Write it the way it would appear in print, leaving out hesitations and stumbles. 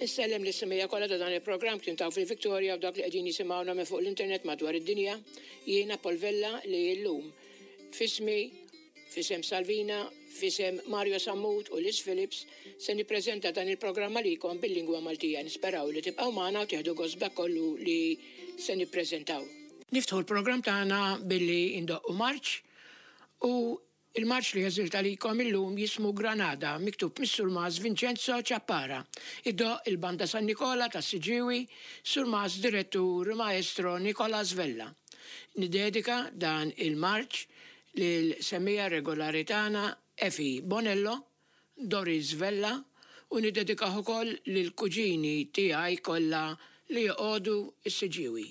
Insellem lis-semgħija kollha ta' dan il-programm kif taw fil-Victoria u dak li qegħdin jisimgħuna minn fuq l-internet madwar id-dinja. Jiena Paul Vella li llum f'ismi, f'isem Salvina, f'isem Mario Sammut u Liz Phillips se nippreżenta dan il-programm għalikom bil-lingwa Maltija. Nisperaw li tibqgħu magħna u tieħdu gost b'dak kollu li se nippreżentaw. Niftħu l-programm tagħna billi ndoqqu marċ u Il-marċ li għażilt għalikom illum jismu Granada, miktub mis-Surmas Vincenzo Ciappara. Iddoqq il-Banda San Nikola tas-Siġġiewi, Surmas Direttur Maestro Nicolas Vella. Niddedika dan il-marċ lil semmiegħa regolari tagħna Effie Bonello, Doris Vella u niddedikah ukoll lill-kuġini tiegħi kollha li joqogħdu s-Siġġiewi.